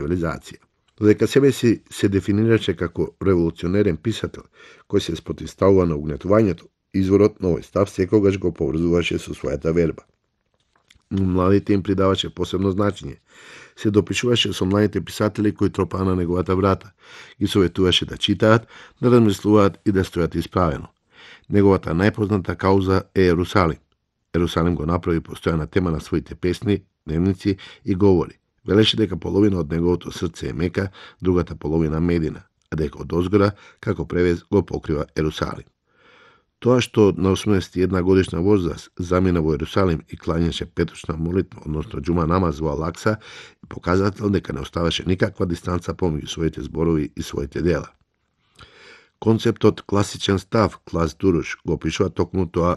цивилизација. Додека себе си се дефинираше како револуционерен писател кој се спротивставува на угнетувањето, изворот на овој став секогаш го поврзуваше со својата верба. Младите им придаваше посебно значење. Се допишуваше со младите писатели кои тропаа на неговата врата. Ги советуваше да читаат, да размислуваат и да стојат исправено. Неговата најпозната кауза е Ерусалим. Ерусалим го направи постојана тема на своите песни, дневници и говори. Велеше дека половина од неговото срце е Мека, другата половина Медина, а дека од озгора, како превез, го покрива Ерусалим. Тоа што на 81 годишна возраст замина во Ерусалим и клањаше петочна молитва, односно џума намаз во Алакса, е показател дека не оставаше никаква дистанца помеѓу своите зборови и своите дела. Концептот класичен став, клас дуруш, го опишува токму тоа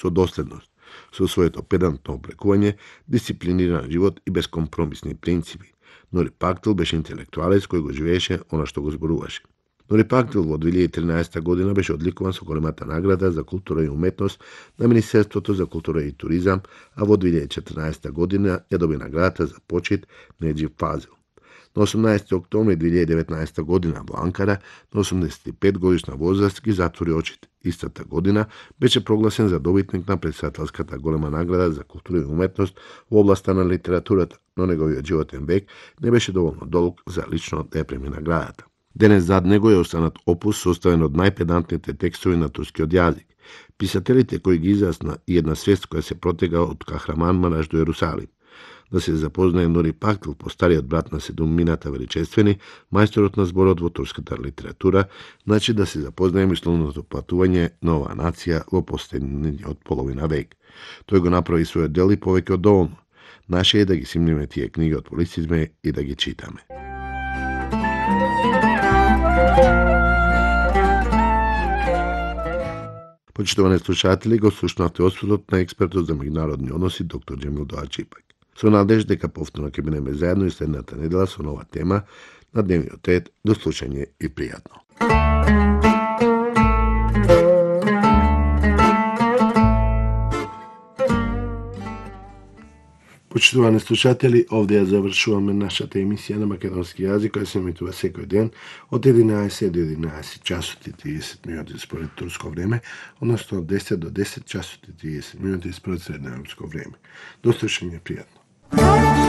со доследност, со своето педантно облекување, дисциплиниран живот и безкомпромисни принципи. Нури Пактил беше интелектуалец кој го живееше она што го зборуваше. Нури Пактил во 2013 година беше одликуван со големата награда за култура и уметност на Министерството за култура и туризам, а во 2014 година ја доби наградата за почит Неџип Фазил. На 18 октомври 2019 година во Анкара, на 85 годишна возраст, ги затвори очите. Истата година беше прогласен за добитник на претседателската голема награда за култура и уметност во областа на литературата, но неговиот животен век не беше доволно долг за лично да ја преми наградата. Денес зад него е останат опус составен од најпедантните текстови на турскиот јазик. Писателите кои ги изјасна и една свест која се протега од Кахраман Мараш до Ерусалим. Да се запознае Нури Пактил, постариот брат на Седумината величествени, мајсторот на зборот во турската литература, значи да се запознае мисловното патување на оваа нација во последниот половина век. Тој го направи својот дел и повеќе од доволно. Наше е да ги симниме тие книги од полицизме и да ги читаме. Почитувани слушатели, го слушнавте осведот на експертот за меѓународни односи доктор Џемил Доаџипак. Со надеж дека повторно ќе бидеме заедно и следната недела со нова тема на дневниот ред. До слушање и пријатно. Почитувани слушатели, овде ја завршуваме нашата емисија на македонски јазик, која се емитува секој ден од 11 до 11 часот и 30 минути според турско време, односно од 10 до 10 часот и 30 минути според средноевропско време. До слушање, пријатно.